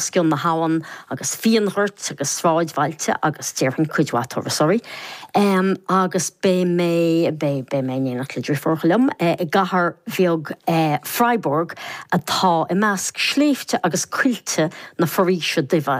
Cionn na habhann agus fíonghoirt agus sráidbhailte agus déarfainn cuid mhaith turasóirí. Agus beidh mé, beidh, beidh mé in éineacht le driofúracha liom i gcathair bheag Freiburg atá i measc sléibhte agus coillte na Foraoise Duibhe.